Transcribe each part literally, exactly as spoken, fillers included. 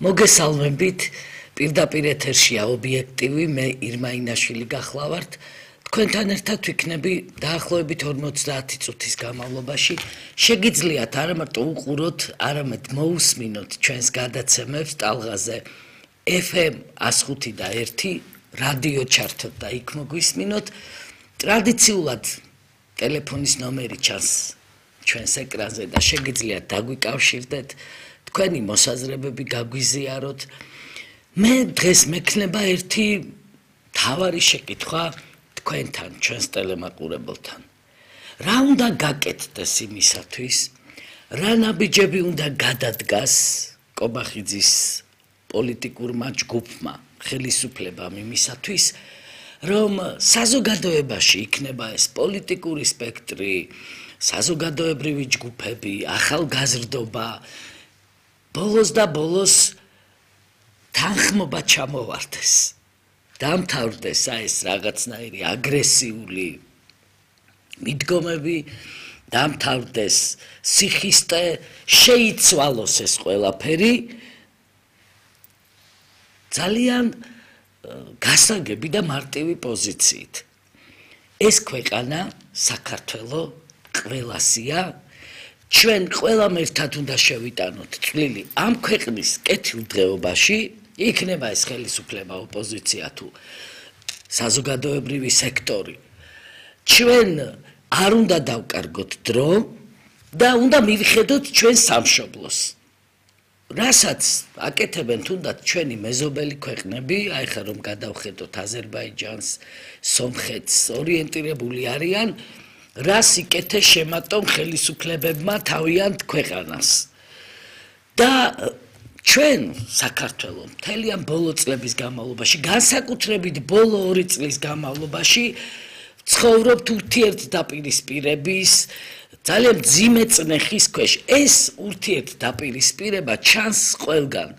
მოგესალმებით, პირდაპირ ეთერშია ობიექტივი, მე ირმა ინაშვილი გახლავართ. თქვენთან ერთად ვიქნები დაახლოებით ორმოცდაათი წუთის განმავლობაში. შეგიძლიათ არა მარტო უყუროთ, არამედ მოусმინოთ ჩვენს გადაცემებს ტალღაზე ეფ ემ ას ხუთი და ერთი რადიო ჩართოთ და იქ მოგვისმინოთ. ტრადიციულად ტელეფონის ნომერი ჩანს ჩვენს ეკრანზე და შეგიძლიათ დაგვიკავშირდეთ. თქვენი მოსაზრებები გაგვიზიაროთ. მე დღეს მექნება ერთი მთავარი შეკითხვა თქვენთან, ჩვენს ტელემაყურებელთან. რა უნდა გაკეთდეს იმისათვის, რა ნაბიჯები უნდა გადადგას კობახიძის პოლიტიკურმა ჯგუფმა, ხელისუფლებამ იმისათვის, რომ საზოგადოებაში იქნება ეს პოლიტიკური სპექტრი, საზოგადოებრივი ჯგუფები, ახალგაზრდობა, ბოლოს და ბოლოს თანხმობა ჩამოვარდეს. დამთავრდეს ეს რაღაცნაირი აგრესიული მიდგომები, დამთავრდეს სიხისტე, შეიცვალოს ეს ყველაფერი ძალიან გასაგები და მარტივი პოზიციით. ეს ქვეყანა საქართველო ყველასია. ჩვენ ყველამ ერთად უნდა შევიტანოთ წვლილი ამ ქვეყნის კეთილდღეობაში, იქნება ეს ხელისუფლება, ოპოზიცია თუ საზოგადოებრივი სექტორი. ჩვენ არ უნდა დავკარგოთ დრო და უნდა მივხედოთ ჩვენ სამშობლოს. რასაც აკეთებენ თუნდაც ჩვენი მეზობელი ქვეყნები, აი ხა რომ გადავხედოთ აზერბაიჯანს, სომხეთს, ორიენტირებული არიან რას იკეთეს შემატომ ხელისუფლებებმა თავიანთ ქვეყანას. და ჩვენ საქართველოს მთელი ამ ბოლო წლების განმავლობაში, განსაკუთრებით ბოლო ორი წლის განმავლობაში ცხოვრობთ ურთიერთდაპირისპირების ძალიან მძიმე წნეხის ქვეშ. ეს ურთიერთდაპირისპირება ჩანს ყველგან.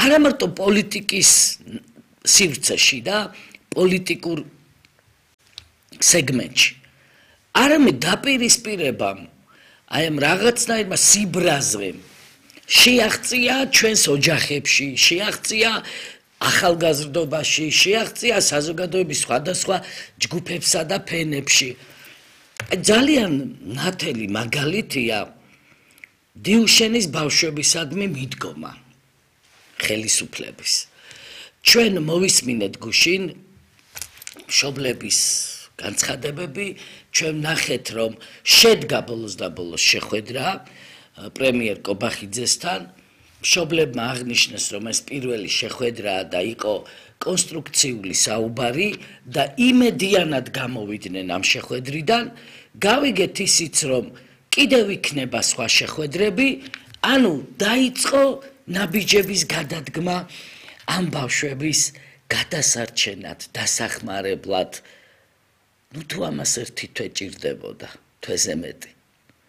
არა მარტო პოლიტიკის სივრცეში და პოლიტიკურ სეგმენტში. არამედ დაპირისპირებამ, აი ამ რაღაცნაირმა სიბრაზრემ შეაღწია ჩვენს ოჯახებში, შეაღწია ახალგაზრდობაში, შეაღწია საზოგადოების სხვადასხვა ჯგუფებსა და ფენებში. ძალიან ნათელი მაგალითია დიუშენის ბავშვებისადმი მიდგომა ხელისუფლების. ჩვენ მოვისმინეთ გუშინ მშობლების განცხადებები, ჩვენ ნახეთ რომ შედგა ბოლოს და ბოლოს შეხვედრა პრემიერ კობახიძესთან. მშობლებმა აღნიშნეს რომ ეს პირველი შეხვედრაა და იყო კონსტრუქციული საუბარი და იმედიანად გამოვიდნენ ამ შეხვედრიდან. გავიგეთ ისიც რომ კიდევ იქნება სხვა შეხვედრები, ანუ დაიწყო ნაბიჯების გადადგმა ამ ბავშვების გადასარჩენად, დასახმარებლად. ნუ თუ ამას ერთი თვე ჭირდებოდა, თვეზე მეტი.